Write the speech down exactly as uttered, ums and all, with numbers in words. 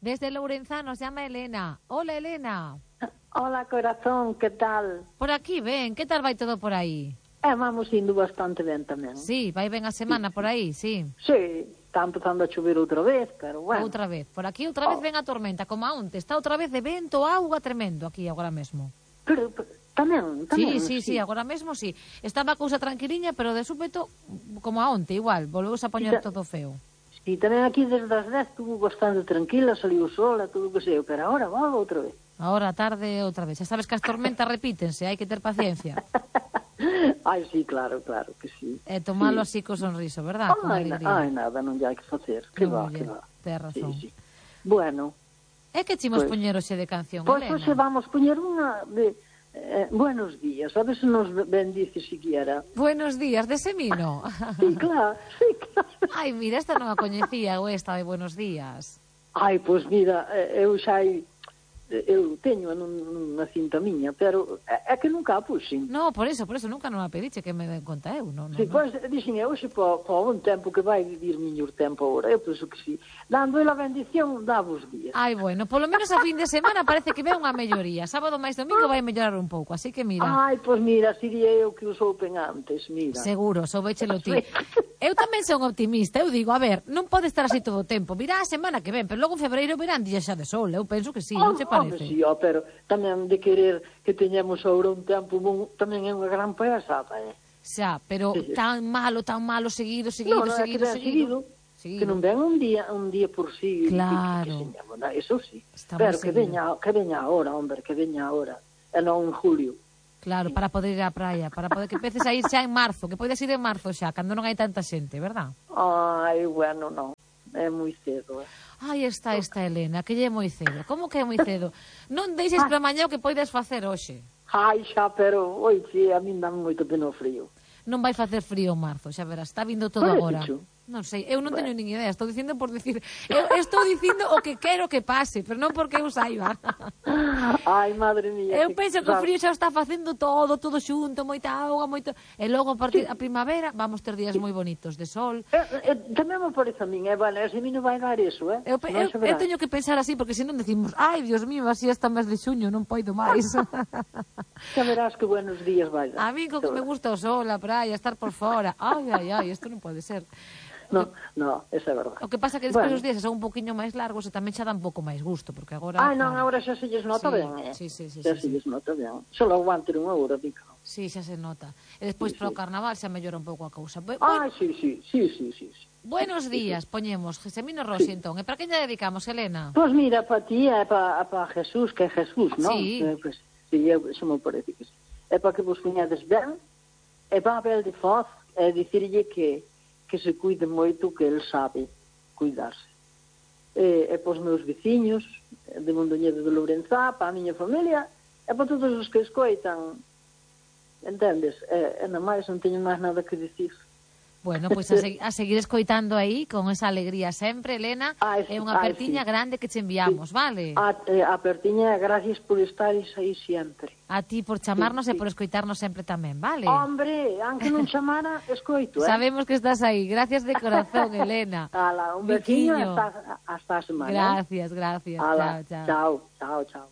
Desde Lourenzá nos llama Elena. Hola, Elena. Hola, corazón, que tal? Por aquí, ben, que tal vai todo por aí? Eh, vamos indo bastante ben tamén. Sí, vai ben a semana por aí, sí. Sí, está empezando a chover outra vez, pero bueno. Outra vez, por aquí outra vez Oh. ven a tormenta, como a onte. Está outra vez de vento, auga tremendo aquí agora mesmo. Pero, pero tamén, tamén. Sí, sí, sí, agora mesmo sí. Estaba a cousa tranquiliña, pero de súpeto, como a onte, igual, volveu a poñer Sí, todo feo. Sí, tamén aquí desde as dez estuvo bastante tranquila, saliu o sol e todo o que sei, pero agora volve outra vez. Ahora a tarde outra vez. Xa sabes que as tormentas repítense, hai que ter paciencia. Ai, sí, claro, claro que sí. E tomalo sí. así co sonriso, verdad? Con Ai, na, alegría. ai, nada, non lle hai que facer. Que Non va, lle, que va. tes razón. Sí, sí. Bueno, É que chimos Pues- poñer hoxe de canción, pois Elena? hoxe vamos poñer unha de eh, buenos días, a ver se nos bendice siquiera. Buenos días, de Semino. Sí, claro, sí, claro. Ai, mira, esta non a coñecía, ou esta de buenos días. Ai, pois mira, eh, eu xa hai, eu teño nunha cinta miña, pero é, é que nunca a puxen. No, por eso, por eso, nunca non a pediche que me den conta eu, non, non, Si, non. pois, dixen eu, xe, po, po un tempo que vai vivir miñor tempo agora, eu penso que si. Dando a bendición, dá vos días. Ai, bueno, polo menos a fin de semana parece que ve unha melloría. Sábado máis domingo vai mellorar un pouco, así que mira. Ai, pois mira, sería eu que os oupen antes, mira. Seguro, soubéchelo ti. Eu tamén son optimista, eu digo, a ver, non pode estar así todo o tempo. Virá a semana que ven, pero logo en febreiro verán días xa de sol. Eu penso que sí, non che Home, parece? si, ó, pero tamén de querer que teñamos agora un tempo bon, tamén é unha gran payasada, eh? Xa, pero Sí, sí. tan malo, tan malo, seguido, seguido, non, non, é que seguido, ben seguido. seguido, que non ven un día un día por sí. Claro. Que, que señamos, non, eso sí. Está Pero moi que seguido. veña, que veña ahora, hombre, que veña ahora. E non en julio. Claro, para poder ir á praia, para poder que empeces a ir xa en marzo, que podes ir en marzo xa, cando non hai tanta xente, verdad? Ai, bueno, non. É moi cedo, eh. Ai, está esta Elena, que lle é moi cedo. Como que é moi cedo? Non deixes Ah. para mañá o que poides facer hoxe. Ai, xa, pero, oi, sí, a min dá moito pena o frío. Non vai facer frío en marzo, xa verás, está vindo todo Parece agora. chu. Non sei, eu non Bueno. teño nin idea, estou dicindo por dicir, eu estou dicindo o que quero que pase, pero non porque eu saiba. Ai, madre mía. Eu penso que o sabes, frío xa está facendo todo, todo xunto, moita auga, moito... E logo a partir a primavera vamos ter días moi bonitos de sol. Eh, eh, tamén me parece a min, eh, bueno, ese mi non vai dar eso, eh? Eu, pe- Non eu, se eu verá. teño que pensar así, porque senón decimos, ai, Dios mío, así hasta mes de xuño, non poido máis. Xa verás que buenos días vai dar. A mí co que me gusta o sol, a praia, estar por fora. Ai, ai, ai, isto non pode ser. No, no, esa é verdade. O que pasa que despois Bueno. os días son un poquinho máis largos e tamén xa dá un pouco máis gusto, porque agora... Ai, non, claro, agora xa se lles nota Sí, ben, eh? sí, sí, sí, Xa sí, se sí. lles nota ben. Só logo van ter unha hora, dica. Sí, xa se nota. E despois Sí, para o sí. carnaval xa mellora un pouco a cousa. Bu- Ai, bueno, sí, sí, sí, sí, sí. sí. buenos días, poñemos Semino Rossi, entón. E para quen lle dedicamos, Elena? Pois mira, para ti e para pa Jesús, que é Jesús, non? Sí. Eh, pues, sí, eu, eso me parece que sí. É para que vos cuñades ben, é para Abel de Foz, é dicirlle que, que se cuide moito, que el sabe cuidarse. E, e para os meus veciños, de Mondoñedo de Lourenzá, para a miña familia, e para todos os que escoitan, entendes? E, e non máis, non teño máis nada que dicir. Bueno, pois a, seg- a seguir escoitando aí, con esa alegría sempre, Elena. Ai, É unha ai, apertiña sí. grande que che enviamos, vale? A, eh, a Pertiña, gracias por estares aí sempre. A ti por chamarnos Sí, e sí. por escoitarnos sempre tamén, vale? Hombre, aunque non chamara, escoito, eh? Sabemos que estás aí. Gracias de corazón, Elena. Ala, un veciño Biquiño. hasta, hasta a semana. Gracias, gracias. Ala, Chao, chao. chao, chao, chao.